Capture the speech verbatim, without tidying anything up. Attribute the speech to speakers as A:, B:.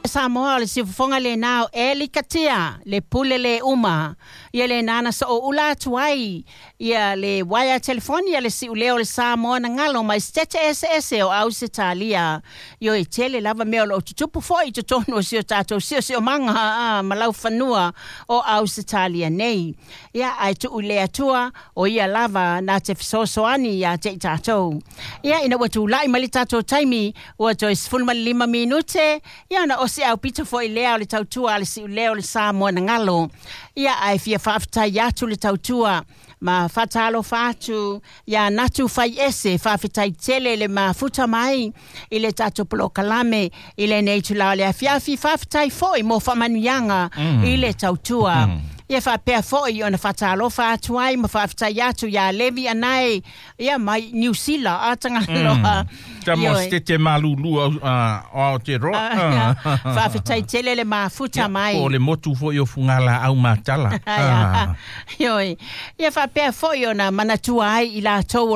A: Samoa o le siufofoga lena o Eli Katia, le pule le uma. Ia lena na sooula atu ai ia le uaea telefoni a le siuleo o le Samoa na galo mai Setete eseese o Ausetalia. Ioe, tele lava mea o loo tutupu foi i totonu o si o tatou siosiomaga a, ma laufanua o Ausetalia nei. Ia, ae tuu i le Atua o ia lava na te fesoasoani ia te i tatou. Ia, ina ua tulai mai le tatou taimi ua toe sefulumalima minute, ia ona osi aupito foi lea o le tautua a le siuleo o le Samoa na galo. Ia, ae fia faafetai atu le tautua ma faatalofa atu ia Natu Fai Ese, faafetai tele le mafuta mai i le tatou polokalame i lenei itula o le afiafi. Faafetai foi mo faamanuiaga mm. i le tautua. Mm. Ia faapea foi ona faatalofa atu ai ma faafetai atu ia Levi Anae, ia mai Niu Sila a Tagaloa.
B: Ta mo te malulu o Aotearoa.
A: Faafetai tele le mafuta mai.
B: Po o le motu foi o Fugala au matala.
A: Ioe. Ia faapea foi ona manatua ai i latou o